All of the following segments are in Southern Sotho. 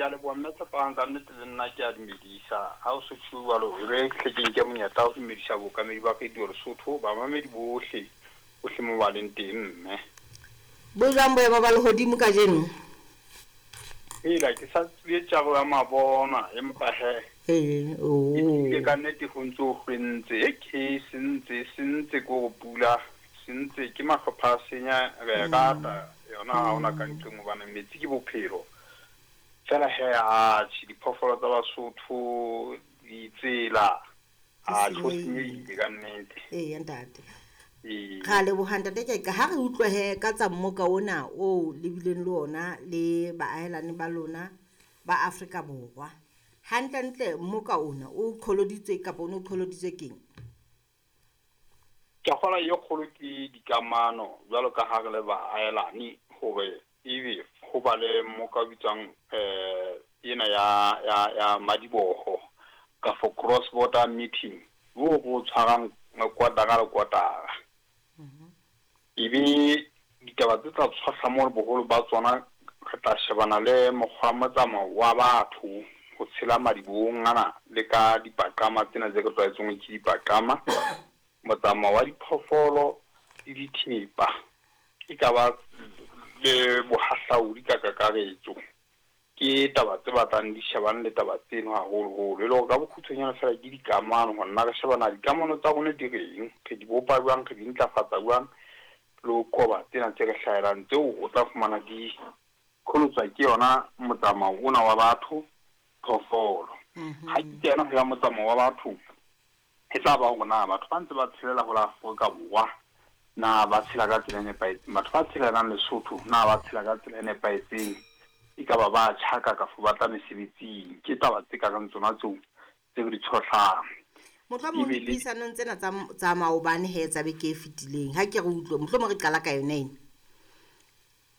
Ke a leboha mme Tshepang, ka nnete le nna ke a dumedisa. Ha o so tjho jwalo, e re hle ke nke monyetla wa ho dumedisa bookamedi ba Radio Lesotho, bamamedi bohle, bohle mo ba leng teng mme. Bo jwang boemo ba lehodimo kajeno? Hela, ke sa tswile tjaro ya mabona, empa he. Ee, E tlile oh. ka nnete ho ntse ho hlwentse. E ke sentse, sentse ke hore pula sentse ke mahlopha a senya re e rata yona ha hona ka nqeng hobane metsi ke bophelo. Fela he atjhe diphoofolo tsa Basotho ditsela Di atjhe ho senyehile. senyehile ka nnete. Eya ntate. Ee. Ra leboha ntate Keqa ha re utlwe he ka tsa mmoka ona o le bileng le ona le baahelani ba lona ba Afrika Borwa. Hantlentle mmoka ona o qholoditswe kapa o ne o qholoditswe keng? Ke a kgolwa e kgolo ke dikamano jwalo ka ha re le baahelani hore ebe ho ba le mmoka o bitswang ena ya ya ya madiboho kafo cross border meeting o re o tshwarang kotara le kotara. Ebe ditaba tse tla tshohla moo boholo ba tsona re tla shebana le mokgwa wa motsamao wa batho ho tshela madibohong ana le ka dipaqama tsena tse re tlwaetseng hore ke dipaqama. Motsamao wa diphoofolo le dithepa e ka ba le bohahlaudi ka kakaretso. Ke taba tse batlang di shebane le taba tseno haholoholo. E le hore ka bokgutshwanyane fela ke dikamano hore na re shebana dikamano tsa rona di reng, re di bopa jwang, re di ntlafatsa jwang, le ho qoba tsena tse re hlahelang tseo o tla fumana di qholotswa ke yona motsamao ona wa batho phoofolo. Ha ke kena ho ya motsamao wa batho, e tla ba hore na batho ba ntse ba tshelela ho la Afrika Borwa na ba tshela ka tsela e nepahetseng, batho ba tshelelang Lesotho na ba tshela ka tsela e nepahetseng, e ka ba ba tjhaka kafo ba tla mesebetsing. Ke taba tse kareng tsona tseo tse re di tshohlang. Mohlomong Ebile dipuisanong tsena tsa tsa maobane he tsa beke e fetileng ha ke re utlwe mohlomong re qala ka yona ena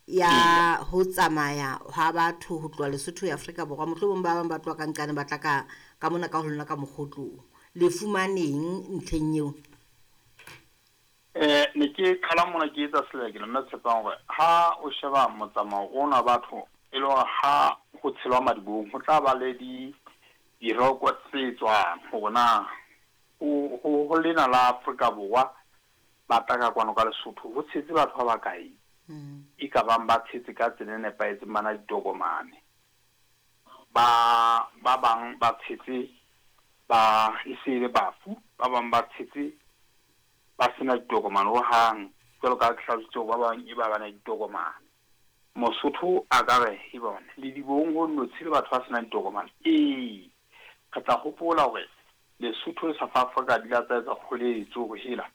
ya eya. ho tsamaya ha batho ho tloha Lesotho ho ya Afrika Borwa mohlomong ba bang ba tloha ka nqane ba tla ka ka mona ka ho lona ka mokgotlong. Le fumaneng ntlheng eo? Ne ke qala mona ke etsa selekelo mme Tshepang hore ha o sheba motsamao ona wa batho e le hore ha ho tshelwa madibohong ho tla ba le di diroko tse tswang hore na ho ho ho lena la Afrika Borwa ba tla ka kwano ka Lesotho ho tshetse batho ba bakae e ka bang ba tshetse ka tsela e nepahetseng ba na ditokomane. Ba ba bang ba tshetse ba e se le bafu, ba bang ba tshetse ba sena ditokomane hohang. Jwalo ka ha ke hlalositse hore ba bang e ba ba na ditokomane. Mosotho a ka re e bona ledibohong ho notshi le batho ba senang ditokomane. Ee, re tla hopola hore Lesotho le South Africa di la tsa etsa kgoletso hore hela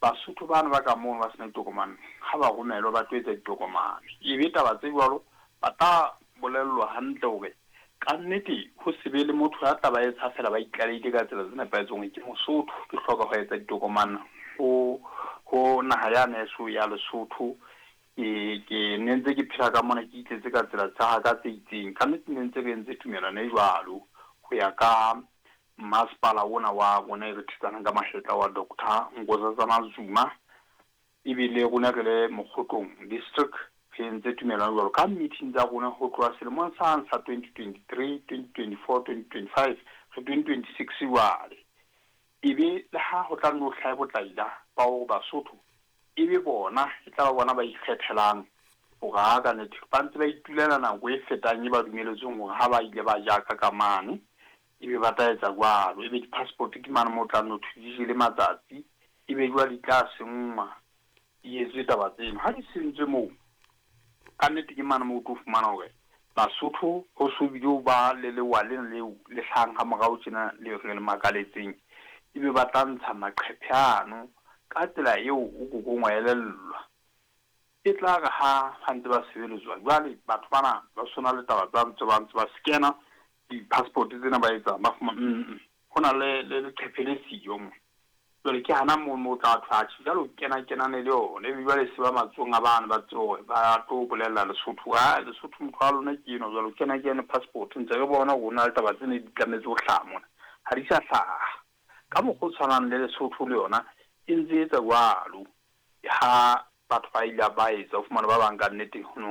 Basotho bano ba ka mono ba senang ditokomane ha ba romelwa ba tlo etsa ditokomane. Ebe taba tse jwalo ba tla bolellwa hantle hore ka nnete ho se be le motho ya tla ba etsa fela ba itlalehile ka tsela tse nepahetseng hore ke Mosotho ke hloka ho etsa ditokomane ho ho naha ya neso ya Lesotho. Ke ke ne ntse ke phela ka mona ke itletse ka tsela tsa ka tse itseng. Ka nnete ne ntse re entse tumellano e jwalo ho ya ka masepala ona wa rona e re thetsanang ka mahetla wa Doctor Nkosazana Zuma. Ebile rona re le Mokgotlong district re entse tumellano jwalo ka meeting tsa rona ho tloha selemong sang sa 2023, 2024, 2025 re 2026 jwale. Ebe le ha ho tla nno hlahe botlaila ba hore Basotho ebe bona e tla ba bona ba ikgethelang hore ha ka nnete ba ntse ba itulela nako e fetang e ba dumeletsweng hore ha ba ile ba jaka ka mane ebe ba tla etsa jwalo. Ebe di-passport ke mane moo o tla nno thwe di jele matsatsi ebe jwale di tla senngwa di etswe taba tseno. Ha di sentswe moo ka nnete ke mane moo o tlo fumana hore Basotho ho so bile ho ba le lewa lena leo le hlahang ha morao tjena le re le makaletseng ebe ba tla ntsha maqhephe ano ka tsela eo o kokong wa elellwa. E tla re ha ba ntse ba sebeletswa jwale batho bana ba sona le taba tsa ntse ba ntse ba scanner di-passport tsena ba etsa ba fumana ho na le le leqephe le siyo mo. Jwale ke hana moo mo tla thwe atjhe jwale o kena kenane le yona ebe jwale se ba matsohong a bana ba tsebe hore ba tlo bolella Lesotho ha Lesotho motho wa lona ke enwa jwale o kena kene passport ntse re bona hore ho na le taba tse ne di tlametse ho hlaha mona ha di sa hlaha. Ka mokgwa o tshwanang le Lesotho le yona e ntse etsa jwalo ha batho ba ile ba etsa o fumane ba bang ka nnete ho no